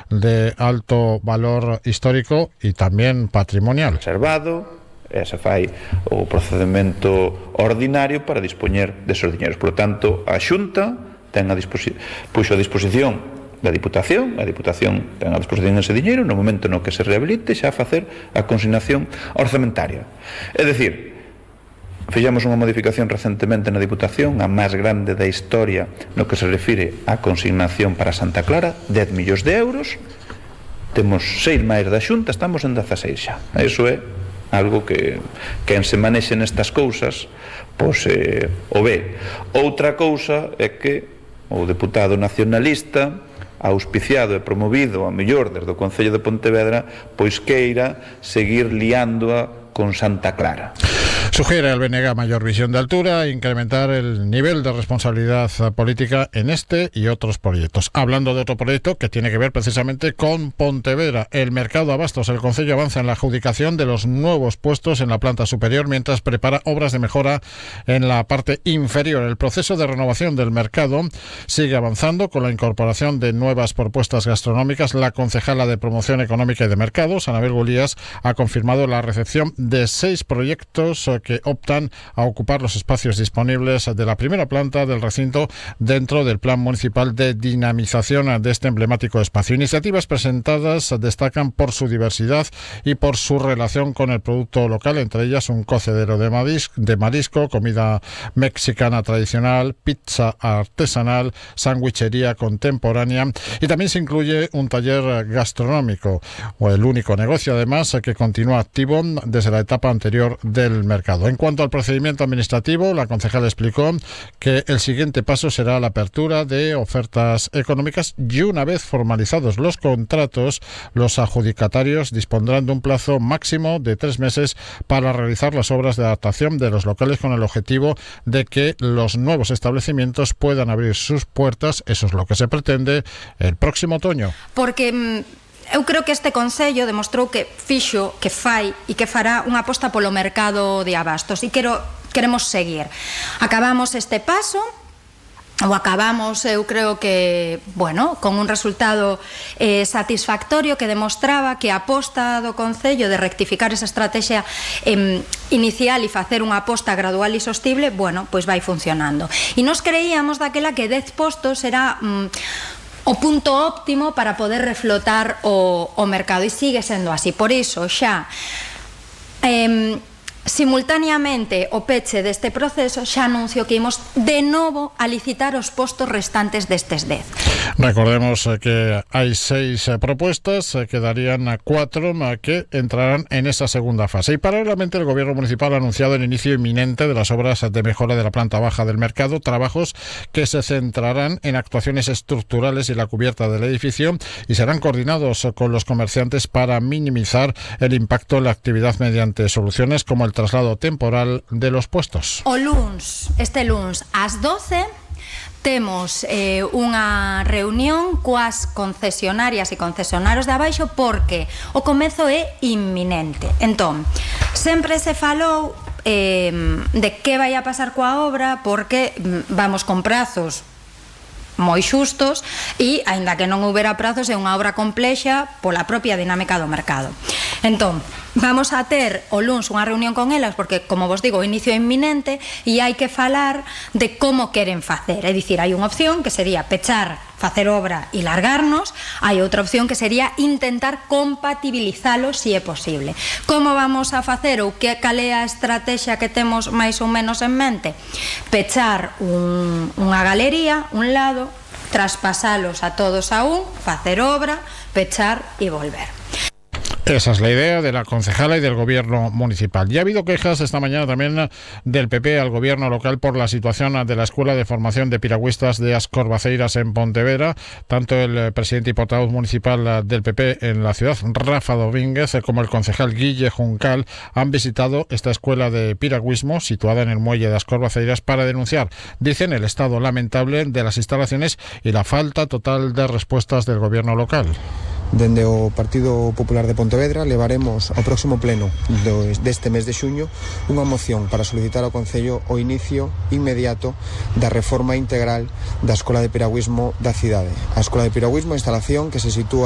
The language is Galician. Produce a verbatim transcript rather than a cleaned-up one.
de alto valor histórico y también patrimonial. Reservado, e se fai o procedimento ordinario para dispoñer desos diñeiros. Por tanto, a Xunta ten a disposi- puxo a disposición da Diputación, a Diputación ten a disposición ese diñeiro no momento no que se rehabilite xa a facer a consignación orzamentaria. É dicir, fixemos unha modificación recentemente na Diputación, a máis grande da historia no que se refire á consignación para Santa Clara, dez millóns de euros, temos seis máis da Xunta, estamos en dezaseis xa. Iso é algo que quen se manexe nestas cousas pois eh, o ve. Outra cousa é que o deputado nacionalista, auspiciado e promovido a mellor desde o Concello de Pontevedra, pois queira seguir liándoa con Santa Clara. Sugiere al B N G mayor visión de altura e incrementar el nivel de responsabilidad política en este y otros proyectos. Hablando de otro proyecto que tiene que ver precisamente con Pontevedra, el mercado de abastos. El Concello avanza en la adjudicación de los nuevos puestos en la planta superior mientras prepara obras de mejora en la parte inferior. El proceso de renovación del mercado sigue avanzando con la incorporación de nuevas propuestas gastronómicas. La concejala de Promoción Económica y de Mercados, Anabel Gulías, ha confirmado la recepción de seis proyectos que optan a ocupar los espacios disponibles de la primera planta del recinto dentro del Plan Municipal de Dinamización de este emblemático espacio. Iniciativas presentadas destacan por su diversidad y por su relación con el producto local, entre ellas un cocedero de marisco, de marisco, comida mexicana tradicional, pizza artesanal, sandwichería contemporánea, y también se incluye un taller gastronómico, o el único negocio además que continúa activo desde la etapa anterior del mercado. En cuanto al procedimiento administrativo, la concejala explicó que el siguiente paso será la apertura de ofertas económicas y una vez formalizados los contratos, los adjudicatarios dispondrán de un plazo máximo de tres meses para realizar las obras de adaptación de los locales con el objetivo de que los nuevos establecimientos puedan abrir sus puertas. Eso es lo que se pretende el próximo otoño. Porque eu creo que este Concello demostrou que fixo, que fai e que fará unha aposta polo mercado de abastos e quero, queremos seguir. Acabamos este paso, ou acabamos, eu creo que, bueno, con un resultado eh, satisfactorio que demostraba que a aposta do Concello de rectificar esa estrategia eh, inicial e facer unha aposta gradual e sostible, bueno, pois vai funcionando. E nos creíamos daquela que dez postos era Mm, o punto óptimo para poder reflotar o, o mercado, e sigue sendo así. Por iso xa eh, simultaneamente o peche deste proceso xa anuncio que imos de novo a licitar os postos restantes destes dez. Recordemos que hay seis propuestas, quedarían cuatro que entrarán en esa segunda fase. Y paralelamente el Gobierno Municipal ha anunciado el inicio inminente de las obras de mejora de la planta baja del mercado, trabajos que se centrarán en actuaciones estructurales y la cubierta del edificio y serán coordinados con los comerciantes para minimizar el impacto en la actividad mediante soluciones como el traslado temporal de los puestos. O luns, este luns, ás doce, temos eh, unha reunión coas concesionarias e concesionarios de abaixo porque o comezo é inminente. Entón, sempre se falou eh, de que vai a pasar coa obra porque vamos con prazos moi xustos e, aínda que non houbera prazos, é unha obra complexa pola propia dinámica do mercado. Entón, vamos a ter o luns unha reunión con elas porque, como vos digo, o inicio é inminente e hai que falar de como queren facer. É dicir, hai unha opción que sería pechar, facer obra e largarnos, hai outra opción que sería intentar compatibilizalo se é posible. Como vamos a facer ou que cal é a estrategia que temos máis ou menos en mente? Pechar un, unha galería, un lado, traspasalos a todos a un, facer obra, pechar e volver. Esa es la idea de la concejala y del gobierno municipal. Ya ha habido quejas esta mañana también del P P al gobierno local por la situación de la Escuela de Formación de Piragüistas de As Corvaceiras en Pontevedra. Tanto el presidente y portavoz municipal del P P en la ciudad, Rafa Domínguez, como el concejal Guille Juncal han visitado esta escuela de piragüismo situada en el muelle de As Corvaceiras para denunciar, dicen, el estado lamentable de las instalaciones y la falta total de respuestas del gobierno local. Dende o Partido Popular de Pontevedra levaremos ao próximo pleno deste mes de xuño unha moción para solicitar ao Concello o inicio inmediato da reforma integral da Escola de Piragüismo da cidade. A Escola de Piragüismo, instalación que se sitúa